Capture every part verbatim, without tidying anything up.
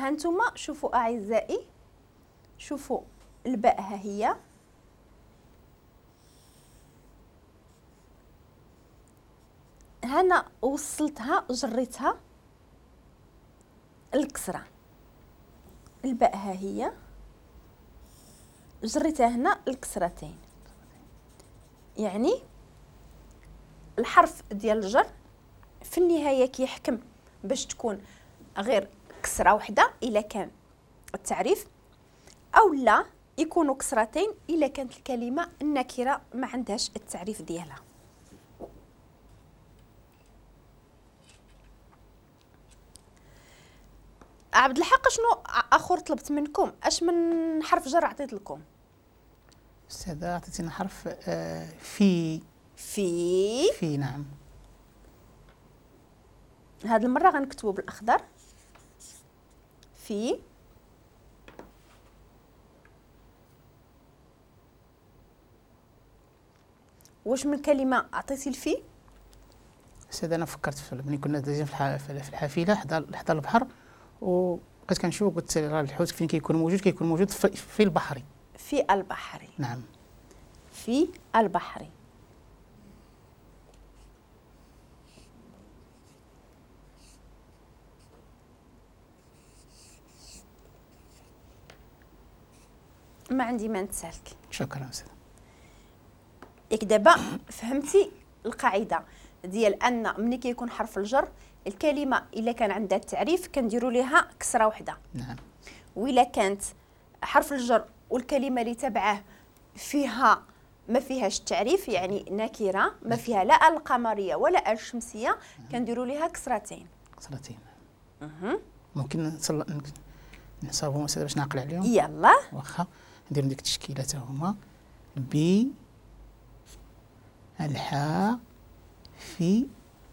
هانتوما شوفوا اعزائي، شوفوا الباء ها هي، هنا وصلتها جريتها الكسرة، الباء ها هي جريتها هنا الكسرتين. يعني الحرف ديال الجر في النهاية كيحكم باش تكون غير كسره وحده الا كان التعريف، او لا يكونوا كسرتين الا كانت الكلمة النكرة ما عندهاش التعريف ديالها. عبد الحق شنو اخر طلبت منكم؟ اش من حرف جر عطيت لكم؟ استاذه عطيتينا حرف آه في. في في نعم. هاد المرة غنكتبو بالاخضر. في واش من كلمة عطيتي الفي؟ استاذ انا فكرت في ملي كنا دايزين في الحافلة حدا حدا البحر، وبقيت كنشوف قلت راه الحوت فين كيكون موجود؟ كيكون موجود في, في البحر. في البحر نعم، في البحر. ما عندي ما نتسالك. شكرا استاذ. ياك دابا فهمتي القاعدة ديال ان ملي كيكون حرف الجر الكلمة الا كان عندها التعريف كنديروا ليها كسره وحده. نعم. والا كانت حرف الجر والكلمة اللي تبعه فيها ما فيهاش التعريف، يعني نكره ما فيها لا القمريه ولا الشمسية، كنديروا ليها كسرتين. كسرتين. اها. ممكن نصاوبهم استاذ باش نعقل عليهم؟ يلا. واخا نديرو ديك التشكيلة حتى هما ب الحاء في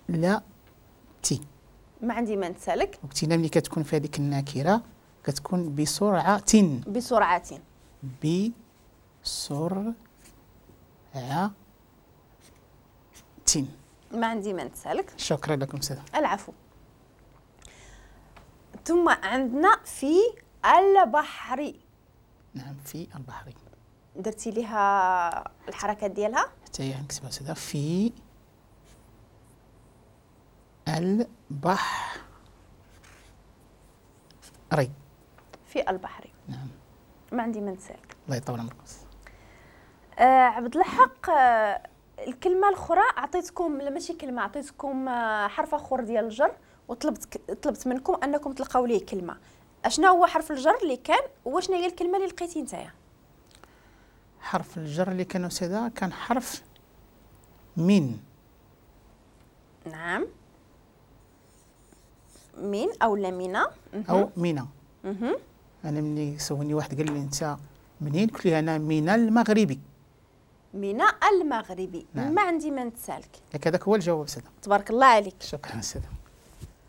لا تي. ما عندي ما نتسالك. وقتنا ملي كتكون في هذيك النكرة كتكون بسرعة. بسرعة. بسرعة. ما عندي ما نتسالك. شكرا لكم استاذ. العفو. ثم عندنا في البحر. نعم في البحر. درتي ليها الحركات ديالها؟ حتى هي نكتبها استاذ في البحر. في البحر. نعم. ما عندي ما نسالك. الله يطول عمرك. آه عبد الحق، آه الكلمة الاخرى عطيتكم، لا ماشي كلمة، عطيتكم آه حرف اخر ديال الجر، وطلبت طلبت منكم انكم تلقاو ليه كلمة. اشنا هو حرف الجر اللي كان وشنا هي الكلمة اللي لقيتي نتايا؟ حرف الجر اللي كان استاذه كان حرف من. نعم، من او لا مينا او مينا. انا ملي سولني واحد قال لي انت منين، قلت له انا من المغربي. من المغربي. نعم. ما عندي ما نتسالك. لك هذاك هو الجواب استاذ. تبارك الله عليك. شكرا استاذ.